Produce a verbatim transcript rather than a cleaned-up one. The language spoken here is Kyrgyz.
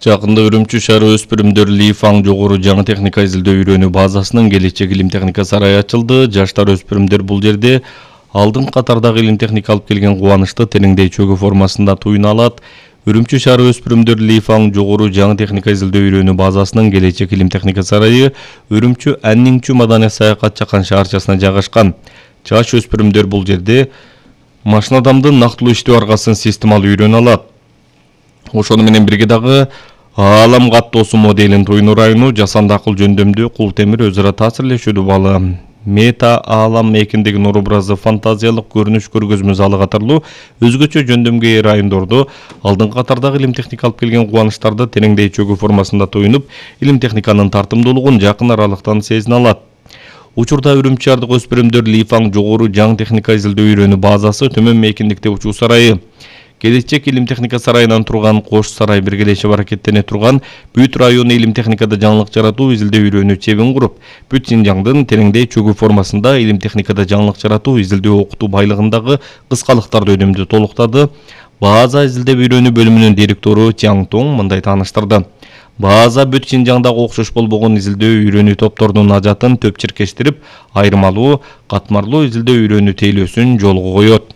Жакында Үрүмчү шаары өспүрүмдөр Ли Фаң жогору жаңы техника изилдөө үйрөнүү базасынын келечек илим техника сарайы ачылды. Жаштар өспүрүмдөр бул жерде алдын катардагы илим техника алып келген кубанычты тереңдей чөгүү формасында туюна алат. Үрүмчү шаары өспүрүмдөр Ли Фаң жогору жаңы техника изилдөө үйрөнүү базасынын келечек илим техника сарайы Үрүмчү Анниңчү маданий саякат чакан шаарчасына жайгашкан. Жаш өспүрүмдөр бул жерде машинадамдын нактылуу иштөө аргасын системалуу үйрөнө алат. Ошону менен бирге дагы Аалам каттоосу моделин туюну району жасанды акыл жөндөмдүү кул темир өзара таасирлешүүдө балы. Мета аалам экиндеги нур образы фантазиялык көрүнүш көргөзмө залы катарлуу өзгөчө жөндөмгө ээ райондордо алдыңкы катардагы илим техника алып келген кубанычтарды тереңдей чөгүү формасында туюнуп, илим техниканын тартымдуулугун жакын аралыктан сезине алат. Учурда Үрүмчү шаардык өспүрүмдөр Ли Фаң жогору жаңы техника изилдөө үйрөнүү базасы төмөн мейкиндикте учуу сарайы. Келечек илим техника сарайынан турган Кош сарай биргелешип аракеттене турган бүт району илим техникада жаңылык жаратуу изилдөө үйрөнүү чебин куруп, бүт Синжаңдын тереңдей чөгүү формасында илим техникада жаңылык жаратуу изилдөө окутуу байлыгындагы кыскалыктарды өнүмдү толуктады. База изилдөө үйрөнүү бөлүмүнүн директору Чаң Тоң мындай тааныштырды. База бүт Синжаңдагы окшош болбогон изилдөө үйрөнүү топторунун ажатын төп чиркештирип, айырмалуу, катмарлуу изилдөө үйрөнүү тейлөөсүн жолго коет.